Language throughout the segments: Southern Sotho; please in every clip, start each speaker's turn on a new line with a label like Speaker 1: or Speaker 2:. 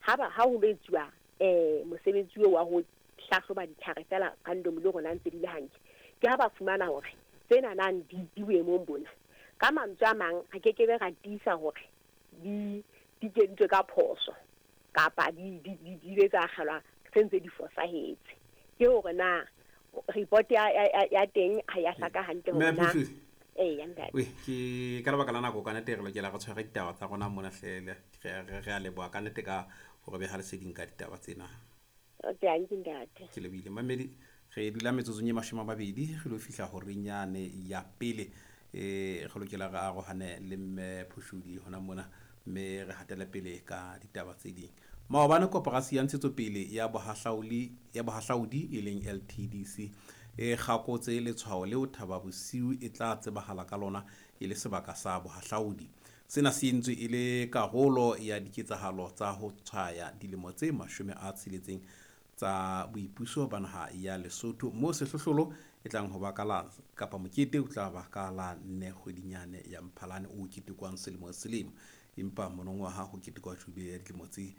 Speaker 1: Ha ba ha ho lo etsuwa mosebetsi oo wa ho hlahloba ditlhare feela randomly hore na ntse di le hantle, ke ha ba fumana hore tsena nang di boemong bona. Ka mantswe a mang, re ke ke be ra tiisa hore di kentswe ka phoso kapa di ile tsa akgelwa se ntse di fosahetse. Ke hore na report ya teng ha ya hlaka hantle
Speaker 2: Mme
Speaker 1: hore na
Speaker 2: Phuhludi.
Speaker 1: Eya, ntate.
Speaker 2: We, ke ka lebaka la nako ka nete re lokela re tshware ditaba tsa rona mona hle re a leboha ka nete ka hore beha leseding ka ditaba tsena.
Speaker 1: Dankie, ntate.
Speaker 2: Ke lebohile mamedi. Re dula metsotsong e 20 re lo fihla horeng yane ya pele. Re lokela re arohane le mme Phuhludi hona mona, mme re hatele pele ka ditaba tse ding. Maobane koporasi ya ntshetsopele ya bohahlaudi e leng LTDC e kgakotse letshwao leo Thaba Bosiu e tla tsebahala ka lona e le sebaka sa bohahlaudi. Sena se entswe e le karolo ya diketsahalo tsa ho tshwaya dilemo tse 60 tsa boipuso ba naha ya Lesotho, moo sehlohlolo e tlang ho ba ka la kapa mokete o tla ba ka la 4 kgwedinyane ya Mphalane o ketekwang selemo le selemo. Empa monongwaha ho ketekwa jubile ya dilemo tse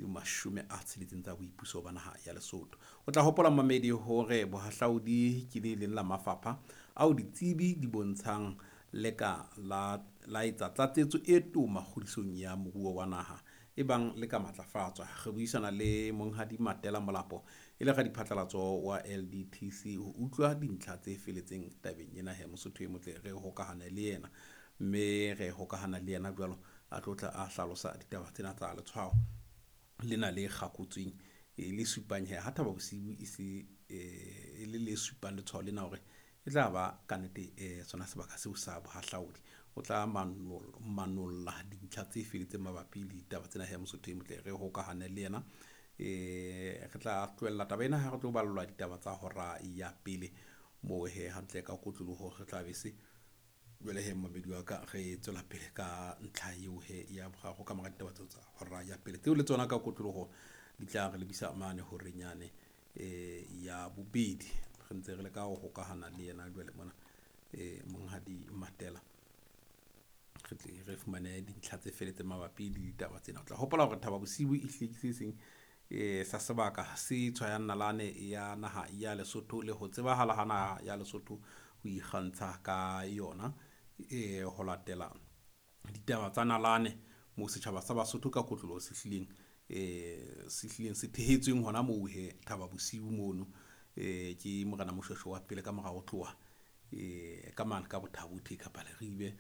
Speaker 2: 60 tsa boipuso ba naha ya Lesotho. O tla hopola mamedi hore bohahlaudi ke le leng la mafapha ao ditsebi di bontshang le ka la etsa tlatsetso e toma kgodisong ya moruo wa naha e bang le ka matlafatswa. Re buisana le Monghadi Matela Molapo e le radiphatlalatso wa LDTC ho utlwa dintlha tse feletseng tabeng ena. He Mosotho e motle, re hokahane le yena, mme re hokahana le yena jwalo a tlotla a hlalosa ditaba tsena tsa letshwao lena le kgakotsweng e le supang he ha Thaba Bosiu e se e le le supang letshwao lena hore e tla ba ka nnete sona sebaka seo sa bohahlaudi. O tla manolla dintlha tse feletseng mabapi le ditaba tsena. He Mosotho e motle, re hokahane le yena. Re tla tlohella taba ena ha re tlo ballwa ditaba tsa hora ya pele moo he hantle ka kotloloho re tla be se jwale he mamedi wa ka re tswela pele ka ntlha eo he ya boraro ka mora ditaba tseo tsa hora ya pele tseo le tsona ka kotloloho di tla re lebisa mane horeng yane ya bobedi. Re ntse re leka ho hokahana le yena jwale mona Monghadi Matela, re tle re fumane dintlha tse feletseng mabapi le ditaba tsena. O tla hopola hore Thaba Bosiu e hlile ke se seng sa sebaka se tshwayang nalane ya naha ya Lesotho le ho tsebahala ha naha ya Lesotho ho ikgantsha ka yona ho latela ditaba tsa nalane moo setjhaba sa Basotho ka kotloloho se hlileng se thehetsweng hona moo he Thaba Bosiu mono. Ke Morena Moshweshwe wa pele ka mora ho tloha ka mane ka Bothabothe kapa Leribe,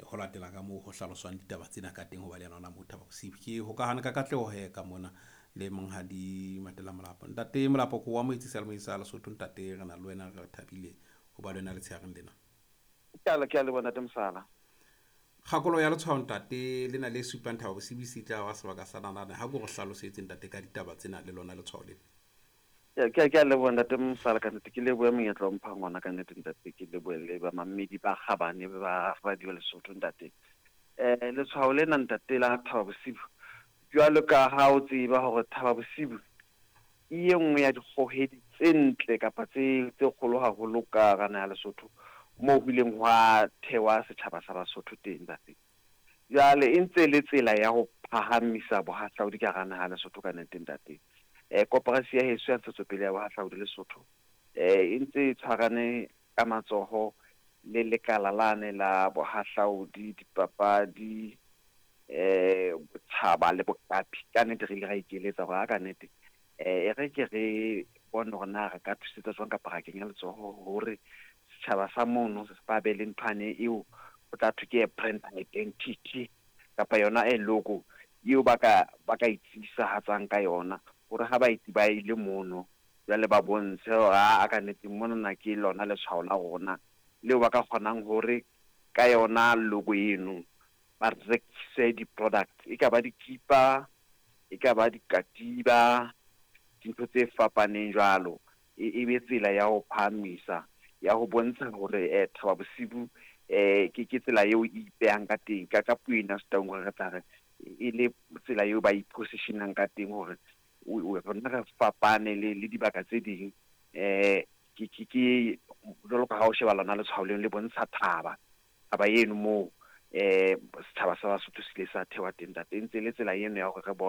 Speaker 2: ho latela ka moo ho hlaloswang ditaba tsena ka teng ho ba le yena hona moo Thaba Bosiu. Ke hokahane ka katleho he ka mona le Monghadi Matela Molapo. Ntate Molapo, ko wa moetsi seyalemoyeng sa Lesotho. Ntate, re na le wena, re thabile ho ba le wena letshehareng lena.
Speaker 3: Ke a leboha, Ntate Mosala.
Speaker 2: Kgakolo ya letshwao ntate lena le supang Thaba Bosiu se tla wa sebaka sa nalane. Ha ko re hlalosetse ntate ka ditaba tsena le lona letshwao lena.
Speaker 3: Ke a leboha, Ntate Mosala, ka nnete ke lebohe monyetla o mphang ona ka nnete ntate, ke lebohe le ba mamedi ba kgabane ba Radio Lesotho ntate. Letshwao lena ntate la Thaba Bosiu, jwalo ka ha o tseba hore Thaba Bosiu ke e nngwe ya dikgohedi tse ntle kapa tse kgolo haholo ka hara naha ya Lesotho, moo ho ileng hwa thewa setjhaba sa Basotho teng ntate. Jwale e ntse le tsela ya ho phahamisa bohahlaudi ka hara naha ya Lesotho ka nnete ntate. Koporasi ya heso ya ntshetsopele ya bohahlaudi Lesotho e ntse e tshwarane ka matsoho le lekala lane la bohahlaudi, dipapadi, botjhaba le boqapi. Ka nnete re ile ra ikeletsa hore ha ka nnete e re ke re bone hore na re ka thusetsa jwang kapa ra kenya letsoho hore setjhaba sa mono ba be le nthwane eo ho tla thwe ke brand identity kapa yona e logo eo ba ka itsibisahatsang ka yona, hore ha baeti ba ile mono jwale ba bontshe hore a ka nnete monana ke lona letshwao la rona leo ba ka kgonang hore ka yona logo eno ba rekise di-products, e ka ba dikipa, e ka ba dikatiba, dintho tse fapaneng jwalo. E be tsela ya ho phahamisa, ya ho bontsha hore Thaba Bosiu ke tsela eo e ipehang ka teng ka puo ena Setaung, hore re tla re e le tsela eo ba ipositionang ka teng hore rona re fapane le dibaka tse ding. Ke jwalo ka ha o sheba lona letshwao leno le bontsha thaba eno moo setjhaba sa Basotho se ile sa thewa teng ntate. E ntse le tsela eno ya hore re bone